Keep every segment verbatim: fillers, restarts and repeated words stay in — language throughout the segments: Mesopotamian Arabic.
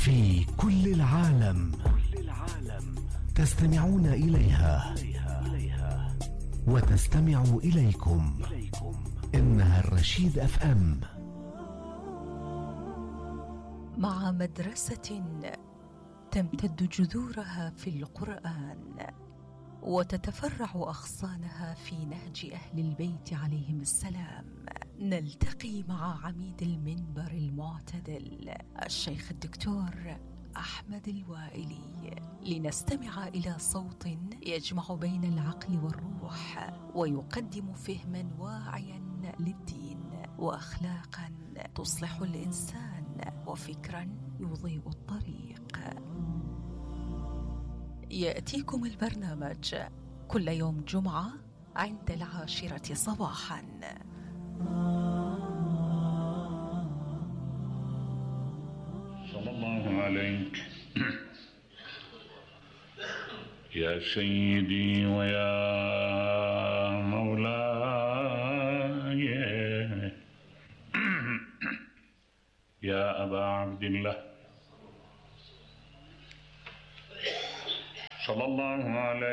في كل العالم تستمعون إليها وتستمع إليكم. إنها الرشيد أف أم. مع مدرسة تمتد جذورها في القرآن وتتفرع أغصانها في نهج أهل البيت عليهم السلام، نلتقي مع عميد المنبر المعتدل الشيخ الدكتور أحمد الوائلي لنستمع إلى صوت يجمع بين العقل والروح ويقدم فهما واعيا للدين وأخلاقا تصلح الإنسان وفكرا يضيء الطريق. يأتيكم البرنامج كل يوم جمعة عند العاشرة صباحا. صلى الله عليك يا سيدي ويا مولاي يا أبا عبد الله صلى الله عليك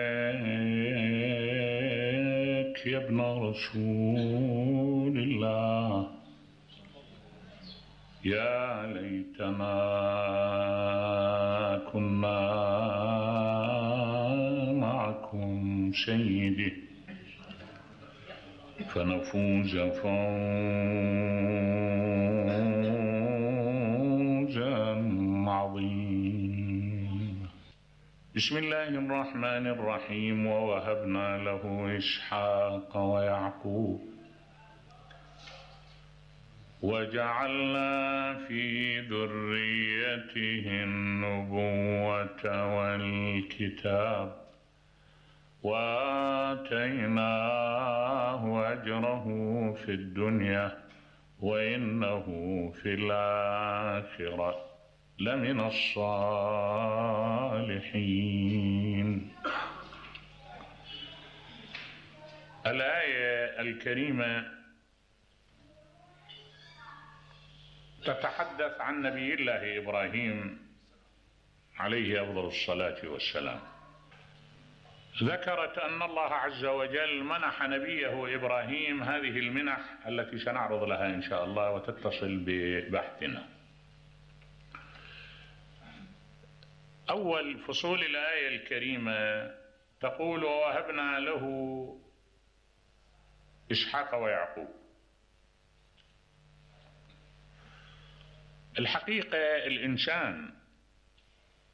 يا ابن رسول الله. يا ليتنا كنا معكم سيدي فنفوز فوزا عظيما. بسم الله الرحمن الرحيم. ووهبنا له إسحاق ويعقوب وجعلنا في ذريته النبوة والكتاب وآتيناه أجره في الدنيا وإنه في الآخرة لمن الصالحين. الآية الكريمة تتحدث عن نبي الله إبراهيم عليه أفضل الصلاة والسلام. ذكرت أن الله عز وجل منح نبيه إبراهيم هذه المنح التي سنعرض لها إن شاء الله وتتصل ببحثنا. أول فصول الآية الكريمة تقول ووهبنا له إسحاق ويعقوب. الحقيقة الإنسان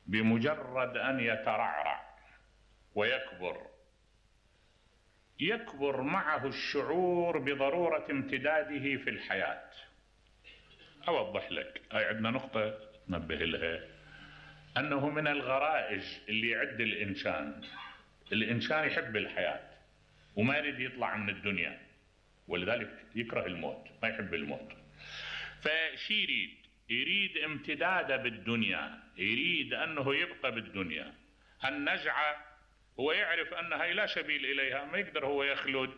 بمجرد أن يترعرع ويكبر يكبر معه الشعور بضرورة امتداده في الحياة. أوضح لك، هاي عندنا نقطة ننبه لها، أنه من الغرائز اللي يعد الإنسان الإنسان يحب الحياة وما يريد يطلع من الدنيا، ولذلك يكره الموت، ما يحب الموت. فشي يريد يريد امتداده بالدنيا، يريد أنه يبقى بالدنيا. هالنزعة هو يعرف أن هاي لا سبيل إليها، ما يقدر هو يخلد،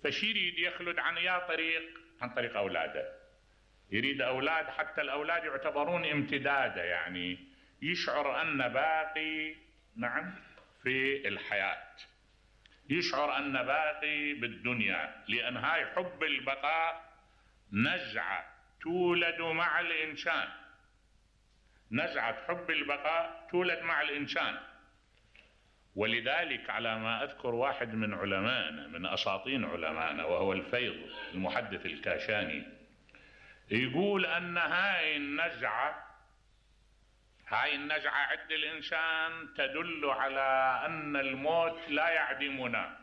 فشي يريد يخلد عن يا طريق عن طريق أولاده. يريد أولاد، حتى الأولاد يعتبرون امتداده، يعني يشعر أن باقي نعم في الحياة، يشعر أن باقي بالدنيا، لأن هاي حب البقاء نزعة تولد مع الإنسان. نزعة حب البقاء تولد مع الإنسان. ولذلك على ما أذكر واحد من علمائنا، من أساطين علمائنا، وهو الفيض المحدث الكاشاني، يقول أن هاي النزعة هاي النزعة عند الإنسان تدل على أن الموت لا يعدمنا،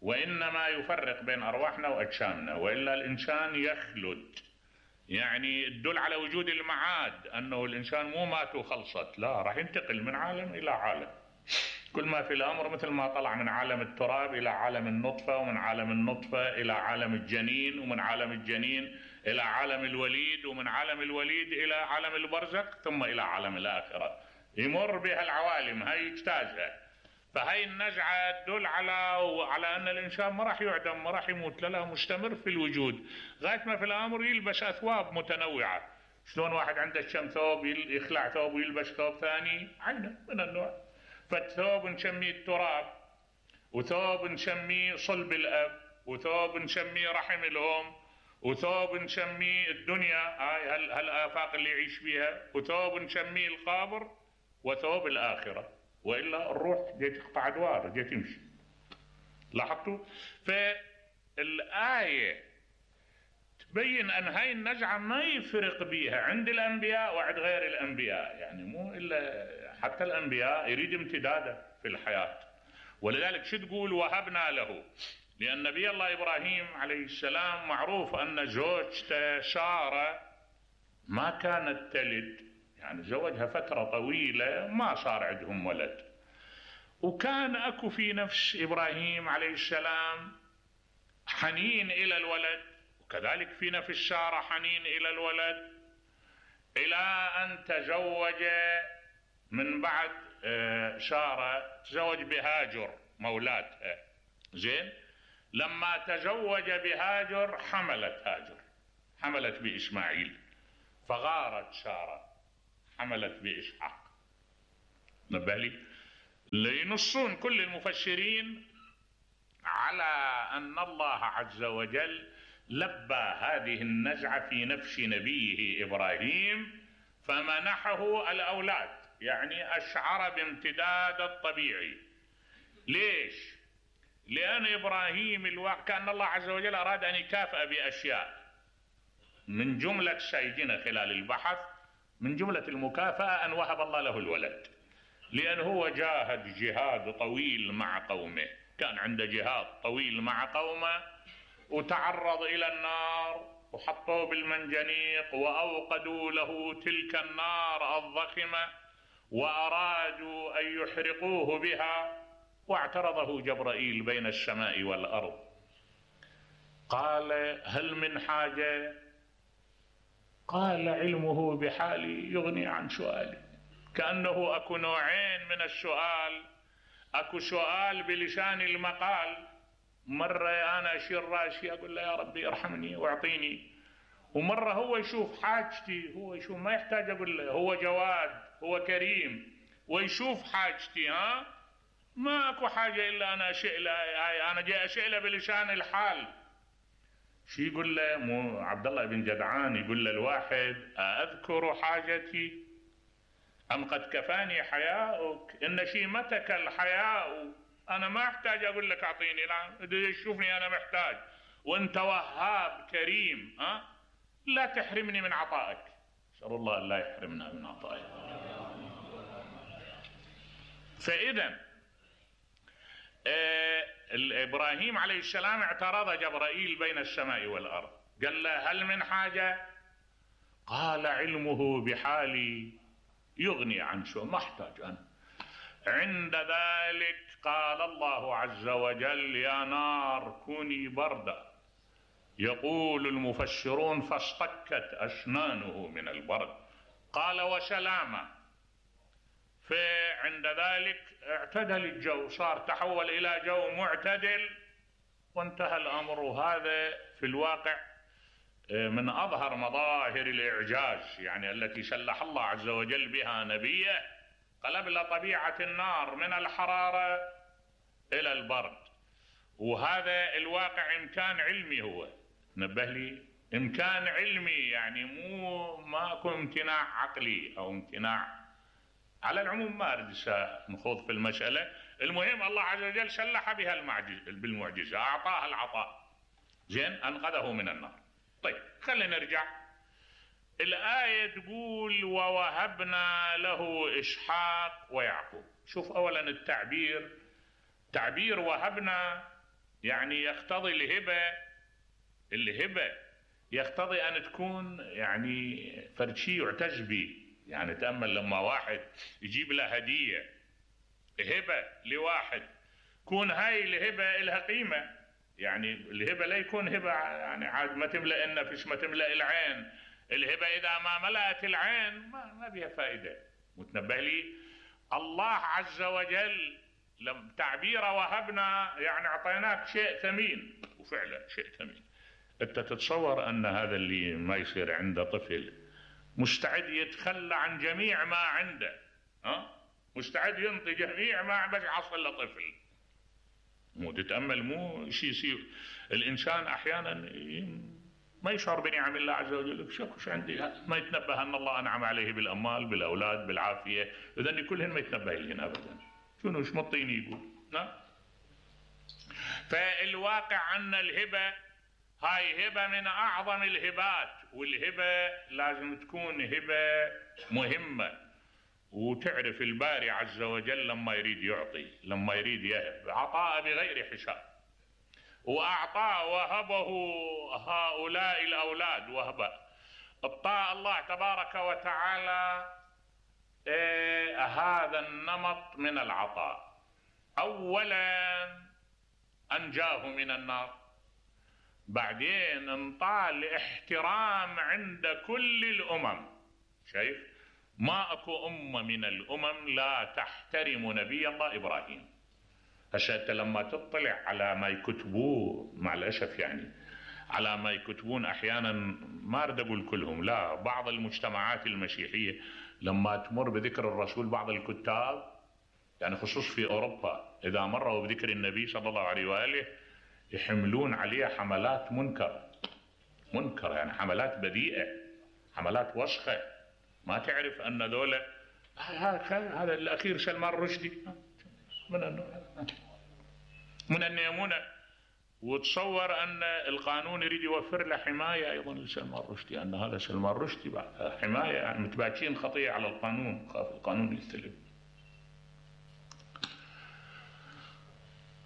وإنما يفرق بين أرواحنا وأجسامنا، وإلا الإنسان يخلد. يعني تدل على وجود المعاد، أنه الإنسان مو مات وخلصت، لا، راح ينتقل من عالم إلى عالم. كل ما في الأمر مثل ما طلع من عالم التراب إلى عالم النطفة، ومن عالم النطفة إلى عالم الجنين، ومن عالم الجنين إلى عالم الوليد، ومن عالم الوليد إلى عالم البرزخ، ثم إلى عالم الآخرة. يمر بها العوالم، هاي يجتازها. فهي النزعة تدل على على أن الإنسان ما راح يعدم، ما راح يموت، لا لا، مستمر في الوجود، غاية ما في الأمر يلبس أثواب متنوعة. شلون واحد عنده كم ثوب يخلع ثوب ويلبس ثوب ثاني، عينه من النوع. فالثوب نسميه التراب، وثوب نسميه صلب الأب، وثوب نسميه رحم الأم، وثوب نسميه الدنيا هاي هالآفاق اللي يعيش فيها، وثوب نسميه القبر، وثوب الآخرة. وإلا الروح جاي تقطع أدوار، جاي تمشي. لاحظتوا؟ فالآية تبين أن هاي النزعة ما يفرق بيها عند الأنبياء وعند غير الأنبياء، يعني مو إلا حتى الأنبياء يريد امتداده في الحياة. ولذلك شو تقول وهبنا له؟ لأن نبي الله إبراهيم عليه السلام معروف أن زوجته سارة ما كانت تلد، يعني زوجها فترة طويلة ما صار عندهم ولد، وكان أكو في نفس إبراهيم عليه السلام حنين إلى الولد، وكذلك في نفس سارة حنين إلى الولد، إلى أن تزوج من بعد سارة تزوج بهاجر مولاتها. زين، لما تزوج بهاجر حملت هاجر، حملت بإسماعيل، فغارت سارة حملت بإسحاق. نبه لي لينصون كل المفسرين على أن الله عز وجل لبى هذه النزعة في نفس نبيه إبراهيم فمنحه الأولاد، يعني أشعر بامتداد الطبيعي. ليش؟ لأن إبراهيم الواقع كأن الله عز وجل أراد أن يكافئ بأشياء، من جملة سيدنا خلال البحث من جملة المكافأة أن وهب الله له الولد، لأن هو جاهد جهاد طويل مع قومه، كان عنده جهاد طويل مع قومه وتعرض إلى النار وحطوه بالمنجنيق وأوقدوا له تلك النار الضخمة وأرادوا أن يحرقوه بها، واعترضه جبرائيل بين السماء والأرض، قال هل من حاجة؟ قال علمه بحالي يغني عن سؤالي. كأنه أكو نوعين من السؤال، أكو سؤال بلسان المقال، مرة أنا أشير راسي أقول له يا ربي ارحمني واعطيني، ومرة هو يشوف حاجتي، هو يشوف ما يحتاج أقول له، هو جواد هو كريم ويشوف حاجتي. ها ما أكو حاجة إلا أنا أشئ له، أنا جاي أشئ له بلسان الحال. شو يقول له؟ مو عبد الله بن جدعان يقول له الواحد أذكر حاجتي أم قد كفاني حياؤك؟ إن شيمتك الحياء، أنا ما أحتاج أقول لك أعطيني، لا تشوفني أنا محتاج، وأنت وهاب كريم، ها لا تحرمني من عطائك. أسأل الله أن لا يحرمنا من عطائك. فإذا آه إبراهيم عليه السلام اعترض جبرائيل بين السماء والأرض، قال له هل من حاجة؟ قال علمه بحالي يغني عن شو، ما احتاج أنا. عند ذلك قال الله عز وجل يا نار كوني بردا، يقول المفسرون فاصطكت أسنانه من البرد، قال وسلاما. فعند ذلك اعتدل الجو، صار تحول إلى جو معتدل وانتهى الأمر. وهذا في الواقع من أظهر مظاهر الإعجاز، يعني التي سلح الله عز وجل بها نبيه، قلب له طبيعة النار من الحرارة إلى البرد. وهذا الواقع إمكان علمي، هو نبه لي إمكان علمي، يعني مو ماكو امتناع عقلي أو امتناع. على العموم ما أريد نخوض في المسألة، المهم الله عز وجل سلح بها بالمعجزة، أعطاها العطاء، زين أنقذه من النار. طيب خلينا نرجع. الآية تقول ووهبنا له إسحاق ويعقوب. شوف أولا التعبير، تعبير وهبنا يعني يقتضي الهبة، الهبة يقتضي أن تكون يعني فرد شيء يعتز به. يعني تأمل لما واحد يجيب له هدية، هبة لواحد، كون هاي الهبة لها قيمة، يعني الهبة لا يكون هبة يعني عاد ما تملأ النفس ما تملأ العين. الهبة إذا ما ملأت العين ما, ما بها فائدة. متنبه لي الله عز وجل لم تعبير وهبنا يعني أعطيناك شيء ثمين، وفعلا شيء ثمين. أنت تتصور أن هذا اللي ما يصير عنده طفل مستعد يتخلى عن جميع ما عنده، ها؟ مستعد ينطي جميع ما بس يحصل له طفل. مو تتأمل، مو شيء يصير. الإنسان أحيانا ما يشعر بنعم الله عز وجل، شو عندي، ما يتنبه أن الله أنعم عليه بالأموال بالأولاد بالعافية، إذن كلهن ما يتنبه لهن أبدا. شنو ايش مطيني يقول؟ نعم. فالواقع أن الهبة هاي هبة من أعظم الهبات، والهبة لازم تكون هبة مهمة، وتعرف الباري عز وجل لما يريد يعطي، لما يريد يهب، عطاء بغير حساب. وأعطاه وهبه هؤلاء الأولاد وهبة. أعطى الله تبارك وتعالى إيه هذا النمط من العطاء. أولا أنجاه من النار، بعدين انطاه الاحترام عند كل الأمم. شايف؟ ما اكو أمة من الأمم لا تحترم نبي الله إبراهيم. هسه انت لما تطلع على ما يكتبوه، مع الأسف يعني على ما يكتبون أحيانا، ما أريد أقول كلهم، لا، بعض المجتمعات المسيحية لما تمر بذكر الرسول، بعض الكتاب يعني خصوص في أوروبا إذا مروا بذكر النبي صلى الله عليه وآله يحملون عليه حملات منكر منكر يعني حملات بذيئة، حملات وسخة. ما تعرف أن ذولا هذا الأخير سلمان رشدي من من النيمونة، وتصور أن القانون يريد يوفر له حماية أيضا لسلمان رشدي، أن هذا سلمان رشدي بعد حماية، يعني متباكين خطية على القانون، خاف القانون يستلم.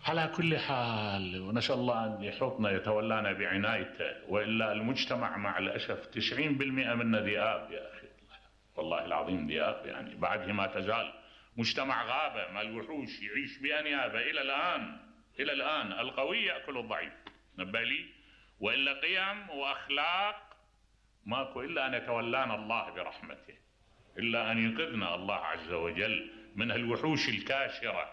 على كل حال، ونسأل الله أن يحوطنا يتولانا بعنايته، وإلا المجتمع مع الأسف تسعين بالمئة منه ذئاب يا أخي، والله العظيم ذئاب، يعني بعده ما تزال مجتمع غابة مال وحوش يعيش بأنيابة إلى الآن. إلى الآن القوي يأكل الضعيف، نبالي، وإلا قيم وأخلاق ماكو إلا أن يتولانا الله برحمته، إلا أن ينقذنا الله عز وجل من الوحوش الكاشرة.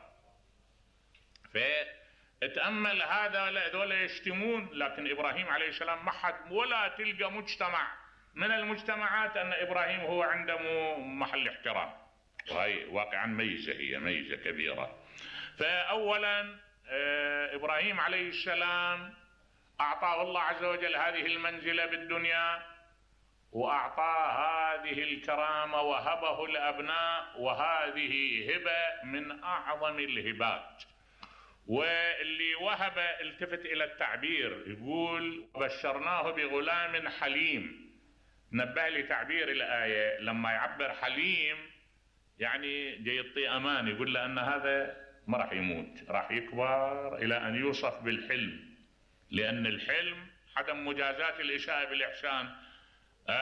فتأمل هذا، هذول يشتمون، لكن إبراهيم عليه السلام ما حد ولا تلقى مجتمع من المجتمعات أن إبراهيم هو عنده محل احترام، وهي واقعا ميزة، هي ميزة كبيرة. فأولا إبراهيم عليه السلام أعطاه الله عز وجل هذه المنزلة بالدنيا، وأعطاه هذه الكرامة وهبه الأبناء، وهذه هبة من أعظم الهبات. واللي وهب التفت إلى التعبير، يقول بشرناه بغلام حليم. نبه لي تعبير الآية لما يعبر حليم يعني جاي يعطي أمان، يقول له أن هذا ما راح يموت، راح يكبر إلى أن يوصف بالحلم، لأن الحلم عدم مجازات الإساءة بالإحسان،